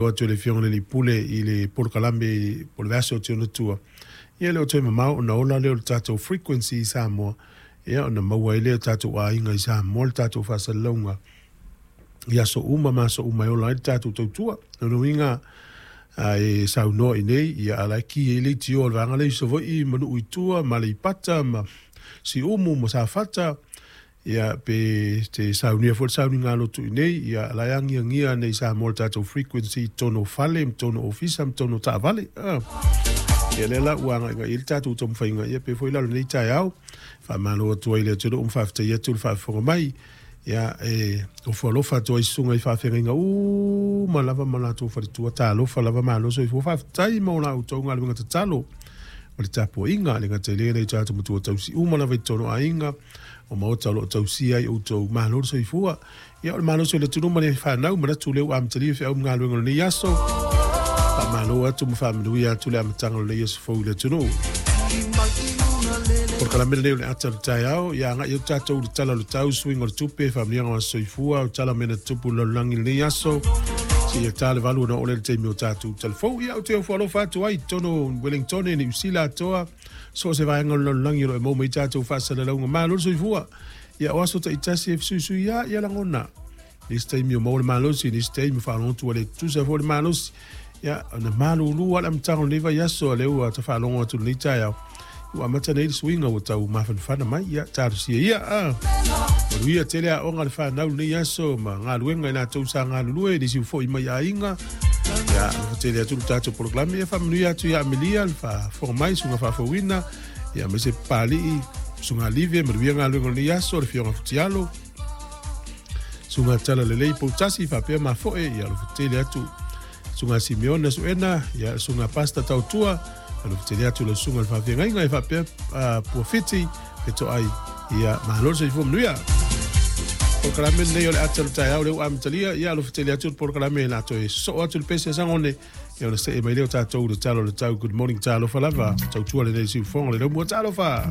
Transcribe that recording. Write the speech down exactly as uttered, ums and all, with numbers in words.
Atu le Afioga i le Pule i le polokalame po o le vaiaso o te ona tua. Ia le o toe mamao ona ola lea o le tatou frequency i Samoa, ia ona maua ai lea o tatou aiga i Samoa le tatou faasalalauga i aso uma ma aso uma e ola ai le tatou tautua. O lona uiga a e saunoa i inei, ia a o la e ki ai leitio a le vaega lea i Savaii ma nuu i tua ma Aleipata ma Siumu ma Safata, ia pe te saunia foi le sauniga lotu i inei, ia o la e agiagia nei i Samoa le tatou frequency i totonu o fale ma totonu o ofisa ma totonu o taavale. Ah. Ia lea la ua agaigai i ai le tatou taumafaiga, ia pe foi la o lenei taeao. Faamalo atu ai i le atunuu ma faafetai atu le faafofoga mai. Ia e ofo alofa atu ai i susuga i faafeagaiga uma lava ma latou faletua, talofa lava, malo soifua, faafetai mo la outou galuega tatalo o le tapuaiga, le gata i lea nai o tatou matua tausi uma lava i totonu o aiga o maota o lo o tausia ai outou, malo le soifua. Ia o le malosi o le atunuu ma le fanau, manatu lea ua amatalia feau ma galuega o lenei aso. Faamalo atu ma faamanuia atu le amataga o lenei aso fou i le atunuu. Polokalame lenei o le ata o le taeao, ia agai atu tatou i le tala o le tau, suiga o le tupe, faamanuiaga o aso soifua, o tala o mea na tutupu i le lalolagi i lenei aso, seia ta le valu ona oo lea i le taimi o tatou talafou. Ia, ou te ofo alofa atu ai i totonu o Wellington, Niu Sila atoa, so o se vaega o le lalolagi o lo o e maua mai tatou faasalalauga. Malo le soifua. Ia, o aso taitasi e fesuisui lava ia lagona. Nisi taimi o maua le malosi, nisi taimi faalogo atu ua le tutusa foi le malosi. Ia, ona malulu lava le amataga o lenei vaiaso, a lea ua ta faalogo atu i lenei taeao, ua amata nei le suiga ua tau mafanafana mai. Ia, talosia ia. Ah. Manuia tele aoga a le fanau i lenei aso ma galuega i latou sa galulue, nisi ua foi mai aiga. Ia, alofa tele atu le tatou polokalame. Ia faamanuia atu ia Amelia le faafofoga mai, susuga faafouina, ia aemaise Papalii, susuga Live, manuia galuega o lenei aso, le Afioga Futialo, susuga Talalelei Poutasi, faapea Mafoe, ia alofa tele atu. Susuga Simeona Suena, ia susuga Pasta Tautua, alofa tele atu lau susuga i le faafeagaiga, e faapea uh, Puafiti, Fetoai, ia malo le soifua manuia. Polokalame lenei o le ata o le taeao lea ua amatalia, ia alofa tele atu le polokalame la toe sosoo atu le pese a Sagone, ia ona see mai lea o tatou i le tala o le tau. Good morning, talofa lava, tautua lenei siufofoga le laumua, talofa.